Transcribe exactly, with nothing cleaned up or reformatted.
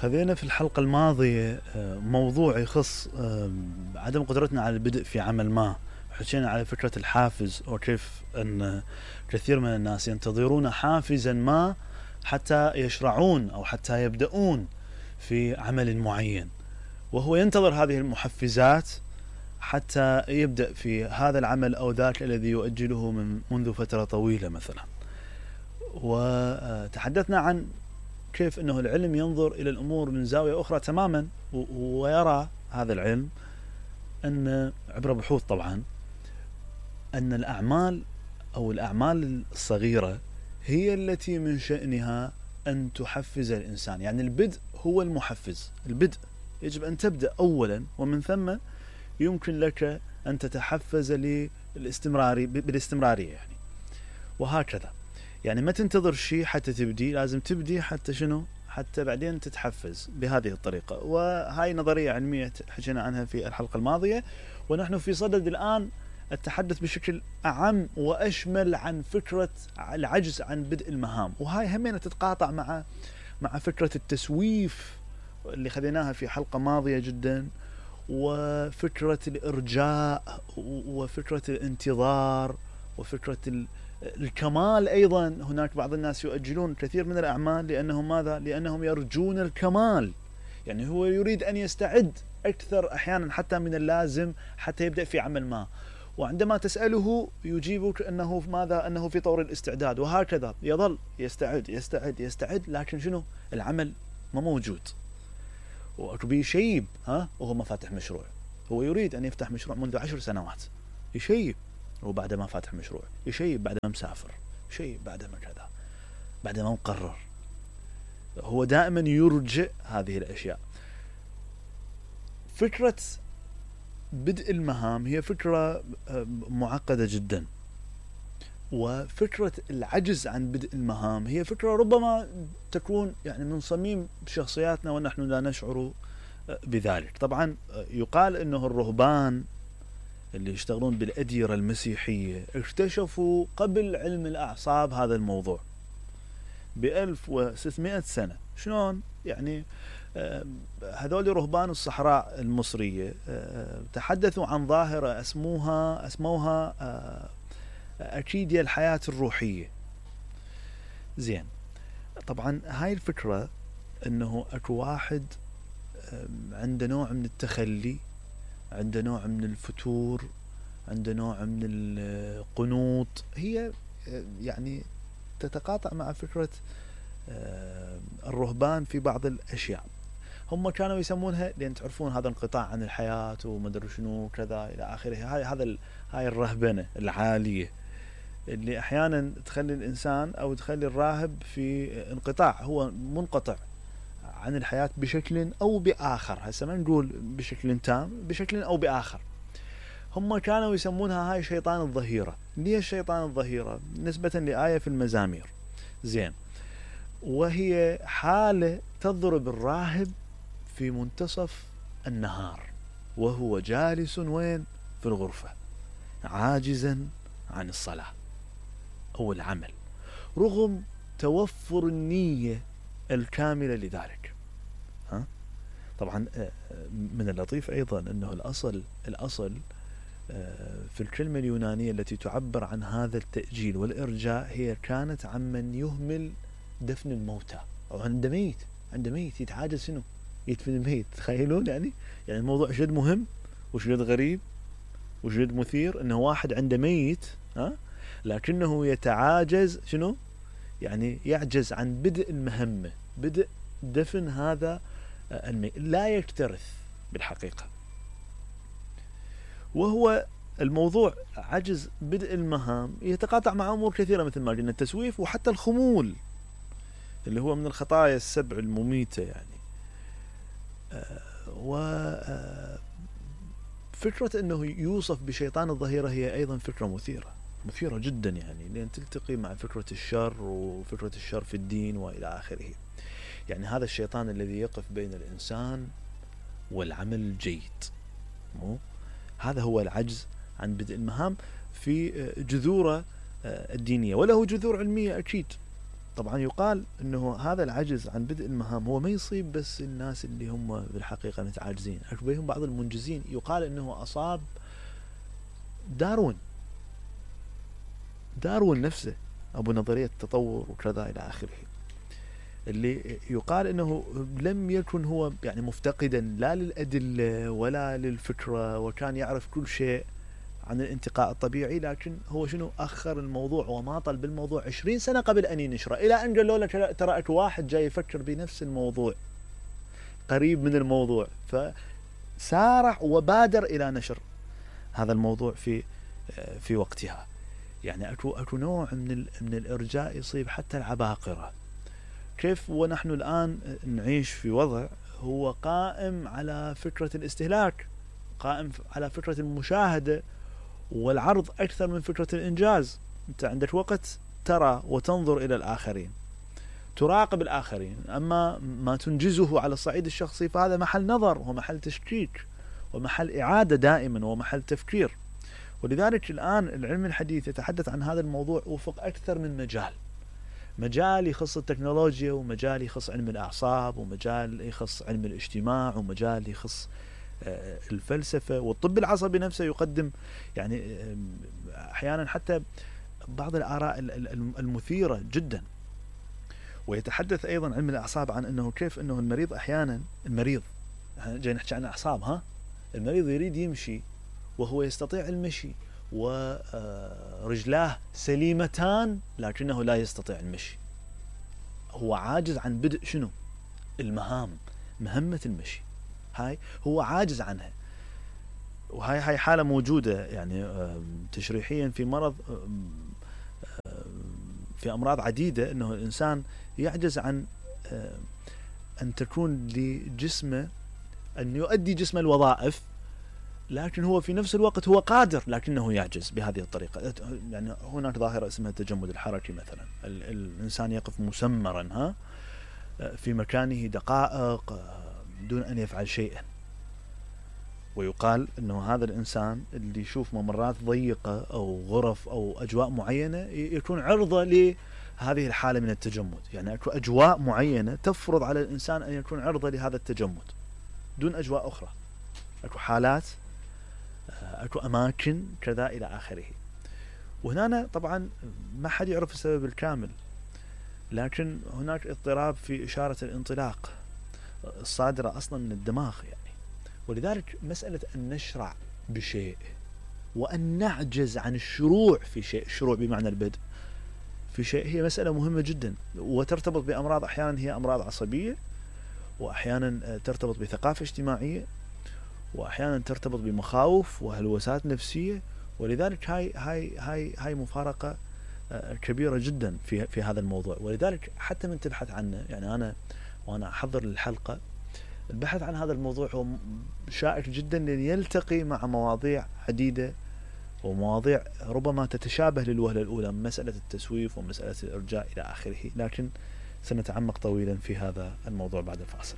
خذينا في الحلقة الماضية موضوع يخص عدم قدرتنا على البدء في عمل ما. حكينا على فكرة الحافز وكيف أن كثير من الناس ينتظرون حافزا ما حتى يشرعون أو حتى يبدأون في عمل معين، وهو ينتظر هذه المحفزات حتى يبدأ في هذا العمل أو ذاك الذي يؤجله من منذ فترة طويلة مثلا. وتحدثنا عن كيف أنه العلم ينظر إلى الأمور من زاوية أخرى تماما، ويرى هذا العلم أن عبر بحوث طبعا أن الأعمال أو الأعمال الصغيرة هي التي من شأنها أن تحفز الإنسان. يعني البدء هو المحفز، البدء يجب أن تبدأ أولا، ومن ثم يمكن لك أن تتحفز للاستمراري بالاستمرارية يعني. وهكذا يعني ما تنتظر شيء حتى تبدي، لازم تبدي حتى شنو؟ حتى بعدين تتحفز بهذه الطريقة. وهاي نظرية علمية حكينا عنها في الحلقة الماضية، ونحن في صدد الآن التحدث بشكل أعم وأشمل عن فكرة العجز عن بدء المهام. وهاي همين تتقاطع مع مع فكرة التسويف اللي خذيناها في حلقة ماضية جدا، وفكرة الإرجاء، وفكرة الانتظار، وفكرة الكمال. أيضا هناك بعض الناس يؤجلون كثير من الأعمال لأنهم ماذا؟ لأنهم يرجون الكمال. يعني هو يريد أن يستعد أكثر أحيانا حتى من اللازم حتى يبدأ في عمل ما، وعندما تسأله يجيبك أنه ماذا؟ أنه في طور الاستعداد، وهكذا يظل يستعد يستعد يستعد، لكن شنو؟ العمل ما موجود. وأكبي شيب ها وهو ما فاتح مشروع. هو يريد أن يفتح مشروع منذ عشر سنوات، يشيب وبعد ما فاتح مشروع، يشيب بعد ما مسافر، يشيب بعد ما كذا، بعد ما مقرر. هو دائما يرجع هذه الأشياء. فكرة بدء المهام هي فكرة معقدة جدا، وفكرة العجز عن بدء المهام هي فكرة ربما تكون يعني من صميم شخصياتنا ونحن لا نشعر بذلك. طبعا يقال أنه الرهبان اللي يشتغلون بالأديرة المسيحية اكتشفوا قبل علم الأعصاب هذا الموضوع بألف وستمائة سنة. شلون؟ يعني هذول رهبان الصحراء المصرية تحدثوا عن ظاهرة اسموها اسموها أكيديا الحياة الروحية. زين، طبعا هاي الفكرة أنه أكو واحد عنده نوع من التخلي، عنده نوع من الفتور، عنده نوع من القنوط. هي يعني تتقاطع مع فكرة الرهبان في بعض الأشياء. هم كانوا يسمونها، لأن تعرفون هذا انقطاع عن الحياة ومدري شنو كذا إلى آخره. هاي هذا هاي الرهبنة العالية اللي أحيانا تخلي الإنسان أو تخلي الراهب في انقطاع، هو منقطع عن الحياة بشكل أو بآخر. هسه ما نقول بشكل تام، بشكل أو بآخر. هم كانوا يسمونها هاي شيطان الظهيرة. ليش شيطان الظهيرة؟ نسبة لآية في المزامير. زين، وهي حالة تضرب الراهب في منتصف النهار وهو جالس وين؟ في الغرفة، عاجزا عن الصلاة أو العمل، رغم توفر النية الكاملة لذلك. ها؟ طبعا من اللطيف أيضا أنه الأصل الأصل في الكلمة اليونانية التي تعبر عن هذا التأجيل والإرجاء هي كانت عمن يهمل دفن الموتى، أو عند ميت عند ميت يتعاجز شنو؟ يدفن الميت. تخيلون يعني يعني الموضوع شد مهم وشد غريب وشد مثير، أنه واحد عنده ميت ها لكنه يتعاجز شنو؟ يعني يعجز عن بدء المهمة، بدء دفن هذا الميت، لا يكترث بالحقيقة. وهو الموضوع عجز بدء المهام يتقاطع مع أمور كثيرة مثل ما قلنا التسويف، وحتى الخمول اللي هو من الخطايا السبع المميتة يعني. وفكرة أنه يوصف بشيطان الظهيرة هي أيضا فكرة مثيرة مثيرة جدا، يعني لأن تلتقي مع فكرة الشر وفكرة الشر في الدين وإلى آخره. يعني هذا الشيطان الذي يقف بين الإنسان والعمل الجيد، مو هذا هو العجز عن بدء المهام في جذوره الدينية، وله جذور علمية أكيد. طبعا يقال انه هذا العجز عن بدء المهام هو ما يصيب بس الناس اللي هم بالحقيقة متعاجزين، بهم بعض المنجزين. يقال انه اصاب داروين داروين نفسه، ابو نظرية التطور وكذا الى اخره، اللي يقال انه لم يكن هو يعني مفتقدا لا للادلة ولا للفكرة، وكان يعرف كل شيء عن الانتقاء الطبيعي، لكن هو شنو اخر الموضوع وماطل بالموضوع عشرين سنة قبل ان ينشره، الى ان قالوا له ترى اكو واحد جاي يفكر بنفس الموضوع قريب من الموضوع، فسارع وبادر الى نشر هذا الموضوع في في وقتها. يعني اكو اكو نوع من من الارجاء يصيب حتى العباقرة. كيف ونحن الان نعيش في وضع هو قائم على فكرة الاستهلاك، قائم على فكرة المشاهدة والعرض أكثر من فكرة الإنجاز. أنت عندك وقت ترى وتنظر إلى الآخرين، تراقب الآخرين، أما ما تنجزه على الصعيد الشخصي فهذا محل نظر ومحل تشكيك ومحل إعادة دائما ومحل تفكير. ولذلك الآن العلم الحديث يتحدث عن هذا الموضوع وفق أكثر من مجال، مجال يخص التكنولوجيا، ومجال يخص علم الأعصاب، ومجال يخص علم الاجتماع، ومجال يخص الفلسفة، والطب العصبي نفسه يقدم يعني أحيانا حتى بعض الآراء المثيرة جدا. ويتحدث أيضا علم الأعصاب عن أنه كيف أنه المريض أحيانا المريض جاي نحكي عن أعصاب، ها المريض يريد يمشي وهو يستطيع المشي ورجلاه سليمتان لكنه لا يستطيع المشي، هو عاجز عن بدء شنو المهام، مهمة المشي هاي هو عاجز عنها. وهاي هاي حالة موجودة يعني تشريحيا في مرض في أمراض عديدة، أنه الإنسان يعجز عن أن تكون لجسمه أن يؤدي جسم الوظائف، لكن هو في نفس الوقت هو قادر لكنه يعجز بهذه الطريقة. يعني هناك ظاهرة اسمها التجمد الحركي مثلا، الإنسان يقف مسمرا ها في مكانه دقائق دون أن يفعل شيئا، ويقال أنه هذا الإنسان اللي يشوف ممرات ضيقة أو غرف أو أجواء معينة يكون عرضة لهذه الحالة من التجمد. يعني أكو أجواء معينة تفرض على الإنسان أن يكون عرضة لهذا التجمد دون أجواء أخرى، أكو حالات، أكو أماكن كذا إلى آخره. وهنا طبعا ما حد يعرف السبب الكامل، لكن هناك اضطراب في إشارة الانطلاق الصادرة أصلا من الدماغ يعني. ولذلك مسألة أن نشرع بشيء وأن نعجز عن الشروع في شيء، الشروع بمعنى البدء في شيء، هي مسألة مهمة جدا، وترتبط بأمراض أحيانا هي أمراض عصبية، وأحيانا ترتبط بثقافة اجتماعية، وأحيانا ترتبط بمخاوف وهلوسات نفسية. ولذلك هاي هاي هاي هاي مفارقة كبيرة جدا في في هذا الموضوع. ولذلك حتى من تبحث عنه، يعني أنا وأنا أحضر الحلقة البحث عن هذا الموضوع هو شائك جدا، لأن يلتقي مع مواضيع عديدة ومواضيع ربما تتشابه للوهلة الأولى، مسألة التسويف ومسألة الإرجاء إلى آخره، لكن سنتعمق طويلا في هذا الموضوع بعد الفاصل.